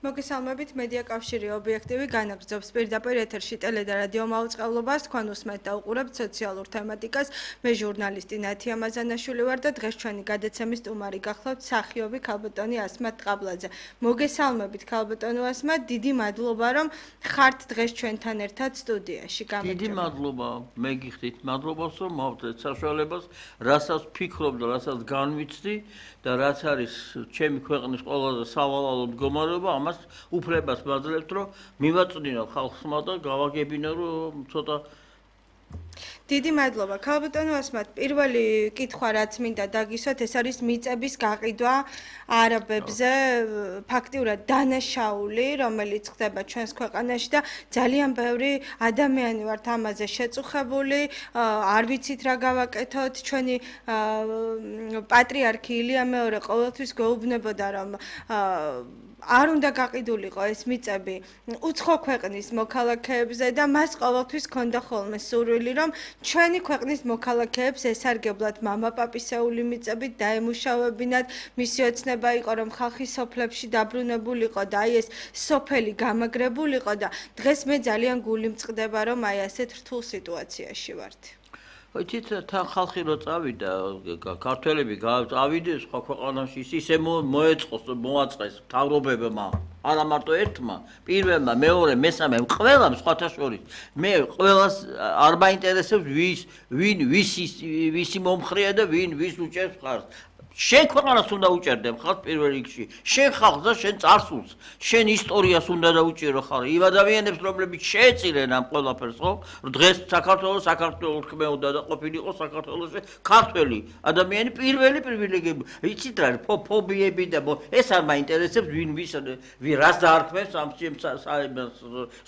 მოგესალმებით, მედია კავშირი ობიექტივი განაგრძობს პირდაპირ ეთერში ტელე და რადიო მაუწყებლობას, თქვენ უსმენთ და უყურებთ სოციალურ თემატიკას. მე ჟურნალისტი ნათია მაზანაშვილი ვარ და დღეს ჩვენი გადაცემის სტუმარი გახლავთ მსახიობი ქალბატონი ასმათ ტყაბლაძე. მოგესალმებით ქალბატონო ასმათ, დიდი მადლობა რომ ხართ დღეს ჩვენთან ერთად სტუდიაში. დიდი მადლობა, მე გიხდით მადლობას რომ მოვდეთ საშუალებას, რასაც ვფიქრობ და რასაც განვიცდი და რაც არის ჩემი ქვეყნის ყველაზე სავალალო მდგომარეობა, ამას უფლებას ვაძლევთ, რომ მივაწვდინო ხალხსმა და გავაგებინო, რომ ცოტა დიდი მადლობა. ქალბატონო ასმათ, პირველი კითხვა რაც მინდა დაგისვათ, ეს არის მიწების გაყიდვა არაბებზე, ფაქტიურად დანაშაული, რომელიც ხდება ჩვენს ქვეყანაში და ძალიან ბევრი ადამიანი ვართ ამაზე შეწუხებული, არ ვიცით რა გავაკეთოთ, ჩვენი პატრიარქი ილია მეორე ყოველთვის გვეუბნებოდა, რომ არ უნდა გაყიდულიყო ეს მიწები უცხო ქვეყნის მოქალაქეებზე და მას ყოველთვის ჰქონდა ხოლმე სურვილი, რომ ჩვენი ქვეყნის მოქალაქეებს ესარგებლად მამაპაპისეული მიწებით დაემუშავებინათ, მისი ოცნება იყო, რომ ხალხი სოფლებში დაბრუნებულიყო და აი ეს სოფელი გამაგრებულიყო და დღეს მე ძალიან გული მწყდება, რომ აი ასეთ რთულ სიტუაციაში ვართ. Იცით, თან ხალხი რო წავიდა, ქართველები წავიდნენ სხვა ქვეყანაში, ისე მოეწყოს, მოაწყეს მთავრობებმა, არა მარტო ერთმა, პირველმა, მეორე, მესამე, ყველამ სხვათა შორის. მე ყველას არ მაინტერესებს ვისი მომხრეა და ვის უჭერს ხარს. შენ ქვეყანას უნდა უჭერდე ხალხს პირველ რიგში, შენ ხალხს და შენ წარსულს, შენ ისტორიას უნდა დაუჭირო ხარ. იმ ადამიანებს, რომლებიც შეეწირენ ამ ყველაფერს, ხო? დღეს საქართველოს თქმეოდა და ყოფილიყო საქართველოში ქართველი ადამიანი პირველი პრივილეგიები. იცით რა, ფობიები და ეს არ მაინტერესებს ვინ რას დაარქმევს ამ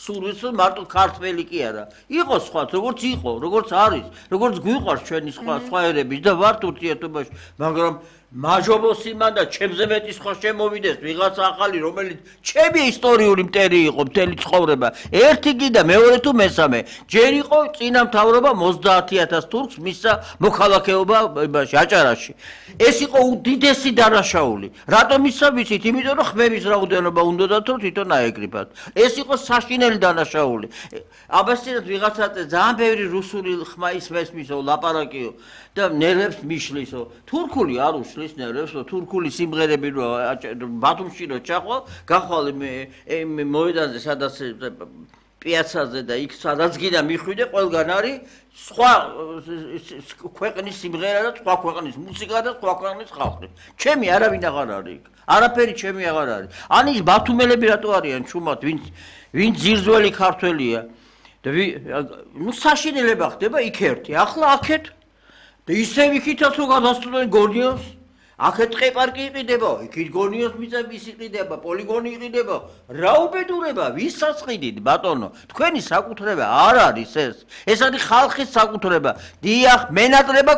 სურვილს, მარტო ქართველი კი არა. იყო სხვა, როგორც იყო, როგორც არის, როგორც გვიყვარს ჩვენი სხვა ერების და ვართ ურთიერთობაში, მაგრამ მაჟობოსი მან და ჩემზე მეტი სხვა შემოვიდეს ვიღაცა ახალი, რომელიც ჩემი ისტორიული მტერი იყო მთელი ცხოვრება. ერთი კი და მეორე თუ მესამე. ჯერ იყო წინა მთავრობა 30,000 თურქს მისცა მოქალაქეობა აჭარაში. ეს იყო უდიდესი დანაშაული. რატომ ისა ვიცით? იმიტომ რომ ხმების რაოდენობა უნდათ რომ თვითონ აეკრიბათ. ეს იყო საშინელი დანაშაული. აბასინად ვიღაცა ძალიან ბევრი რუსული ხმა ისმესმისო, ლაპარაკიო და ნერვებს მიშლისო. თურქული არ უშლის ნერვებს, თურქული სიმღერები რო ბათუმში რო ჩახვალ, გახვალ მოედანზე, სადაც პიაცაზე და იქ სადაც გინდა მიხვიდე, ყველგან არის სხვა ქვეყნის სიმღერა და სხვა ქვეყნის მუსიკა და სხვა ქვეყნის ხალხი. ჩემი არავინ აღარ არის. არაფერი ჩემი აღარ არის. ან ის ბათუმელები რატო არიან ჩუმად, ვინ ძირძველი ქართველია და საშინელება ხდება იქ ერთი. ახლა აქეთ და ისევ იქითაც რო გადასწრდნენ გონიოს, აქეთ ტყეპარკი იყიდება, იქით გონიოს მიწების იყიდება, პოლიგონი იყიდება. რა უბედურება, ვისაც ყიდით, ბატონო? თქვენი საკუთრება არ არის ეს. ეს არის ხალხის საკუთრება. დიახ, მენატრება